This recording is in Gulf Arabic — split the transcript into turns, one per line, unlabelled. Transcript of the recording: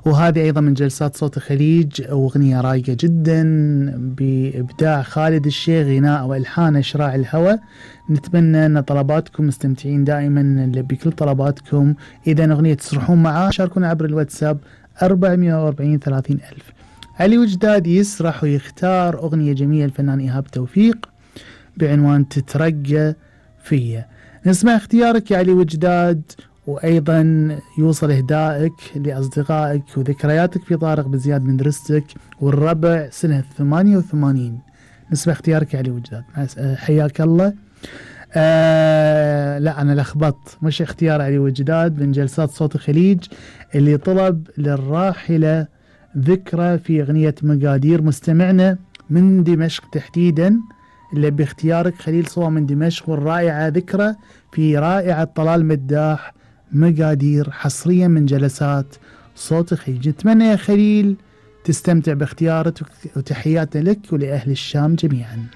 وهذه أيضا من جلسات صوت الخليج، أغنية رايقة جدا بإبداع خالد الشيخ، غناء وإلحان شراع الهوى. نتمنى أن طلباتكم مستمتعين دائما، نلبي كل طلباتكم. إذا أغنية تسرحون معاه شاركونا عبر الواتساب 440 30 ألف. علي وجداد يسرح ويختار أغنية جميلة الفنان إيهاب توفيق بعنوان تترقى فيا. نسمع اختيارك يا علي وجداد، وأيضا يوصل إهدائك لأصدقائك وذكرياتك في طارق بزياد من درستك والربع سنة 88. نسمع اختيارك يا علي وجداد، حياك الله. لا أنا لخبطت، مش اختيار علي وجداد من جلسات صوت الخليج اللي طلب للراحلة ذكرى في أغنية مقادير. مستمعنا من دمشق تحديدا اللي باختيارك خليل صوى من دمشق، والرائعة ذكرى في رائعة طلال مداح مقادير، حصريا من جلسات صوت الخليج. نتمنى يا خليل تستمتع باختيارك، وتحياتنا لك ولأهل الشام جميعا.